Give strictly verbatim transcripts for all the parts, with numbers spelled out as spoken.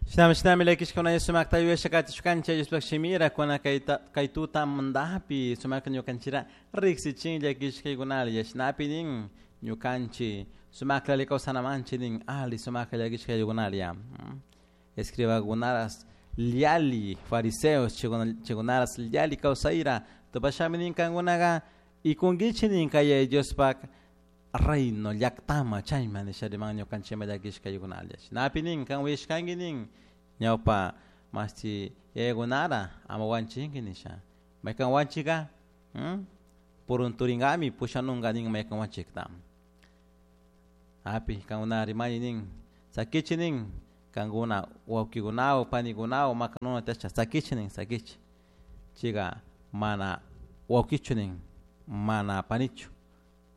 Shinami shinami llakishkuna sumakta yuyasha katishkanchik Diospaj shimira kuna kayta kay tutamantapi sumakta ñukanchira riksichin llakishkaykunalla shinapi nin ñukanchik sumakta alli kawsanamanchik nin ali sumakta llakishkaykunalla escribakunaras yalli fariseos chaykunaras yalli kawsayra tupashami nin kankunaqa ikunkichik nin kay Diospaj reino llaktama chayman nisha riman ñukanchikma llakishkaykunalla shinapi nin kan uyashkanki nin ñawpa mashti yayakunara ama wanchinki nisha maykan wanchika purunturingami pushanunka nin maykan wanchikta api kankuna rimani nin sakichik nin kankuna wawkikunawan panikunawan makanuna tiyashka sakichik nin sakichik chayka mana wawkichu nin mana panichu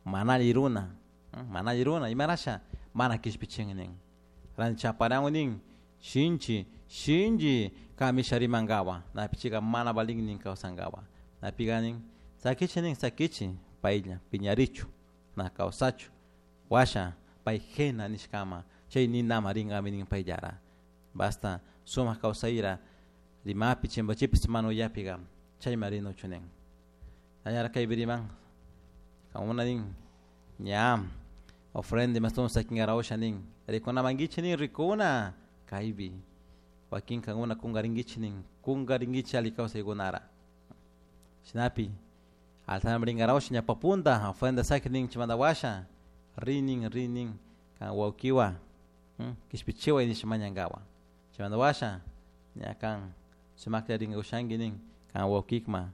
mana alli runa mana alli runa imarasha mana kishpichin nin ranti chaparanwan nin shinchi shinchi kamisha rimankawan napi chayka mana valin nin kawsankawan napika nin sakichik nin sakichik paylla piñarichu na kawsachu washa pay Gehenna nishkama chay ninama rinkami nin payllara basta sumak kawsayra rimapi chimpachipis mana uyapika chayma rinuchu nin allara kaypi riman kankuna nin ña ofrenda imastun sakinkarawsha nin rikunamankichik nin rikuna kaypi wakin kankuna kunkarinkichik nin kunkarinkichik alli kawsaykunara shinapi altarman rinkarawsha ñawpa punta ofrenda saki nin chaymanta washa rinin rinin kan wawkiwan kishpichiway nisha mañankawan chaymanta washa ña kan sumakta rinkakushanki nin kan wawkikman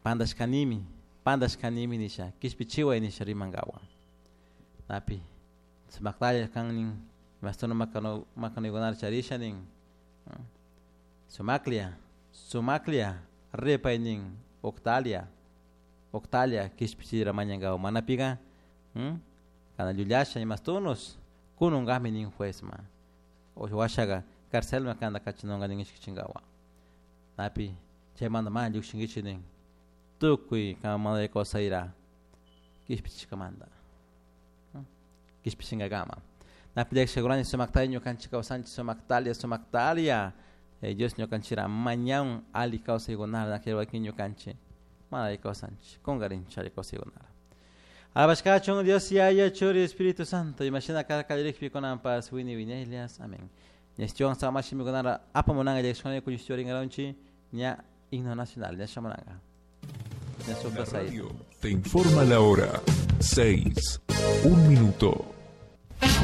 pantashkanimi pantashkanimi nisha kishpichiway nisha rimankawan napi sumaktalla kan nin imastuna makanu makanuykunata charisha nin sumaklla sumaklla ripay nin uqtalia uqtalia kishpichira mañankawan manapika kana llullasha imastunus kununkami nin juezman washaka carcelman kanta kachanunka nin ishkichinkawan napi chaymanta mana llukshinkichik nin tukuy kan kawsayra kishpichishkamanta kishpichinkakama napi llakishakurani sumaktalla ñukanchik kawsanchik sumaktalia sumaktalia Dios ñukanchikra mañan alli kawsaykunata wakin ñukanchik mana alli kawsanchik kunkarinchik alli kawsaykunata Alabashkachun Dios Yaya Churi Espíritu Santo imashina karka kallarikpi kunanpas wini wiñaylias amén ñashtiwan sama shimikunara apamunanga llakishkuna ñukanchik ña himno nacional ña shamunanga ña La radio te informa la hora. seis. Un minuto.